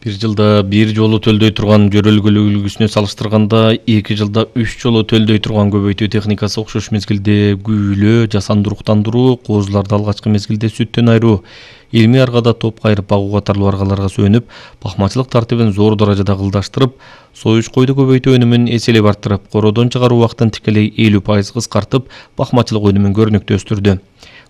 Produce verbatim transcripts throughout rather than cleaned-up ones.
Бир жылда бир жолу төлдөй турган жөрөлгөлүк үлгүсүнө салыштырганда эки жылда үч жолу төлдөй турган көбөйтүү техникасы окшош мезгилде күүлөө, жасанды уруктандыруу, козуларды алгачкы мезгилде сүттөн айыруу, илмий аргада топ кайрып багуу катарлуу аргаларга сүйөнүп, бакмачылык тартибин зор даражада кылдаштырып, союш койду көбөйтүү өнүмүн эселеп арттырып, короодон чыгаруу убактын тикелей элүү пайыз кыскартып, бакмачылык өнүмүн көрүнүктүү өстүрдү.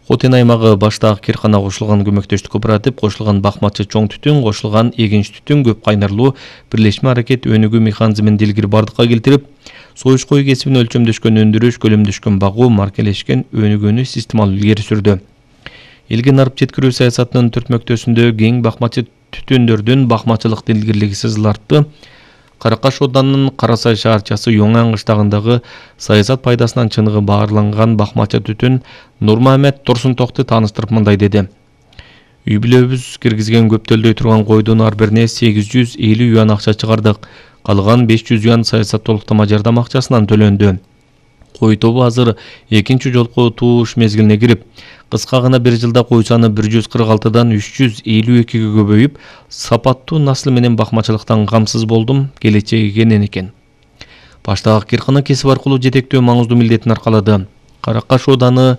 Хотен аймагы баштагы Киркана кошулган көмөктөштүк кооператив, кошулган бакмачы чоң түтүн, кошулган эгинч түтүн көп кайнарлуу бирлешме аракет өнүгүү механизмин дилгири бардыкка келтирип, союш кою кесибин өлчөмдөшкөн өндүрүш, көлөмдөшкөн багуу, маркелешкен өнүгүүнү системалуу илгери сүрдү. Элге нарып жеткирүү саясатынын түртмөктөсүндө кең бакмачы түтүндөрдүн бакмачылык дилгирлиги сызыл артты. Каракаш оданынын Карасай шаарчасы Yoңан кыштагындагы саясат пайдасынан чыныгы баарланган бакмачы түтүн Нурмамет Турсунтокту тааныштырып мындай деди. Үй бүлөбүз киргизген көп төлдөй турган койдун ар бирине сегиз жүз элүү юан акча чыгардык. Калган беш жүз юан саясат толуктама жардам акчасынан төлөндү. Кой тобу азыр экинчи жолку тууш мезгилине кирип, кыска гана бир жылда кой саны бир жүз кырк алтыдан үч жүз элүү экиге көбөйүп, сапаттуу наслы менен бакмачылыктан камсыз болдум, келечеги кенен экен. Баштагы Киркана кесип аркылуу жетектөө маңыздуу милдетин аркалады. Каракаш ооданы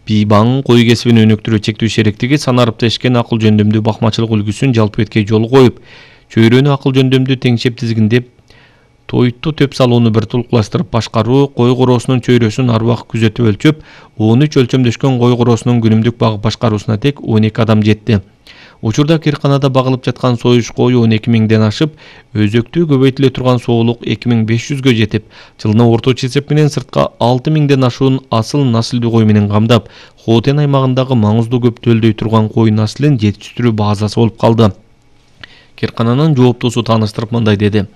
Бийбаң кой кесибин өнүктүрүү чектүү шериктиги санарып тешкен акыл жөндөмдүү бакмачылык үлгүсүн жалпы эткей жол коюп, чөйрөнү акыл жөндөмдүү теңшеп тизгиндеп, тойту төп салууну бир тулукташтырып башкаруу, кой короосунун чөйрөсүн ар убакыт күзөтүп өлчөп, он үч өлчөмдөшкөн кой короосунун күнүмдүк багып башкаруусуна тек он эки адам жетти. Учурда Кирканада багылып жаткан союш кою он эки миңден ашып, өзөктүү көбөйтүлө турган соолук эки миң беш жүзгө жетип, жылына орточо эсеп менен сыртка алты миңден ашуун асыл наслдүү кой менен камдап, Хотен аймагындагы маңыздуу көп төлдөй турган кой наслын жетиштирүү базасы болуп калды. Киркананын жооптуусу тааныштырып мындай деди.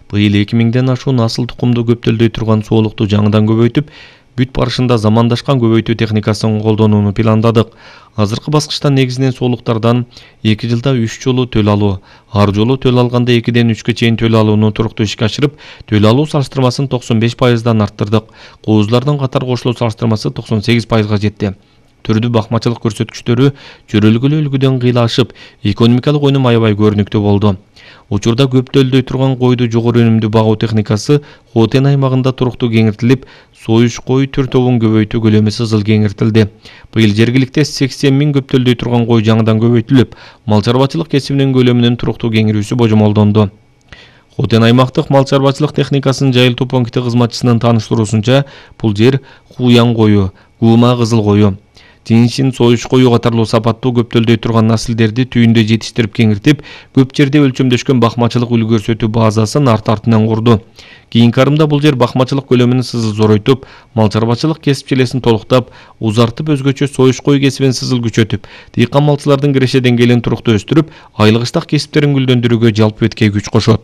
Быйыл эки миңден ашуун асыл тукумду көп төлдөй турган соолукту жаңыдан көбөйтүп, бүт барышында замандашкан көбөйтүү техникасын колдонууну пландадык. Азыркы баскычта негизинен соолуктардан эки жылда үч жолу төл алуу, ар жолу төл алганда экиден үчкө чейин төл алууну туруктуу ишке ашырып, төл алуу салыштырмасын токсон беш пайыздан арттырдык. Козулардын катар кошулуу салыштырмасы токсон сегиз пайызга жетти. Түрдүү бакмачылык көрсөткүчтөрү жөрөлгөлүү үлгүдөн кыйла ашып, экономикалык өнүм аябай көрүнүктүү болду. Учурда көп төлдөй турган койду жогору өнүмдүү багуу техникасы Хотен аймагында туруктуу кеңиртилип, союш кой түр тобун көбөйтүү көлөмү сызыл кеңиртилди. Быйыл жергиликте сексен миң көп төлдөй турган кой жаңыдан көбөйтүлүп, мал чарбачылык кесибинин көлөмүнүн туруктуу кеңирүүсү божомолдонду. Хотен аймактык мал чарбачылык техникасынын жайылтуу пункти кызматчысынын тааныштыруусунча, бул жер Хуяң кою, Гуума кызыл кою, Тинчин союш кою катарлуу сапаттуу көп төлдөй турган наслдерди түйүндө жетиштирип кеңиртип, көп жерде өлчөмдөшкөн бакмачылык үлгү көрсөтүү базасын арт-артынан курду. Кийинки арымда бул жер бакмачылык көлөмүн сызыл зоройтуп, мал чарбачылык кесипчилесин толуктап, узартып өзгөчө союш кой кесибин сызыл күчөтүп, дыйкан малчылардын киреше деңгээлин туруктуу өстүрүп, айлык ыштак кесиптерин гүлдөндүрүүгө жалпы эткей күч кошот.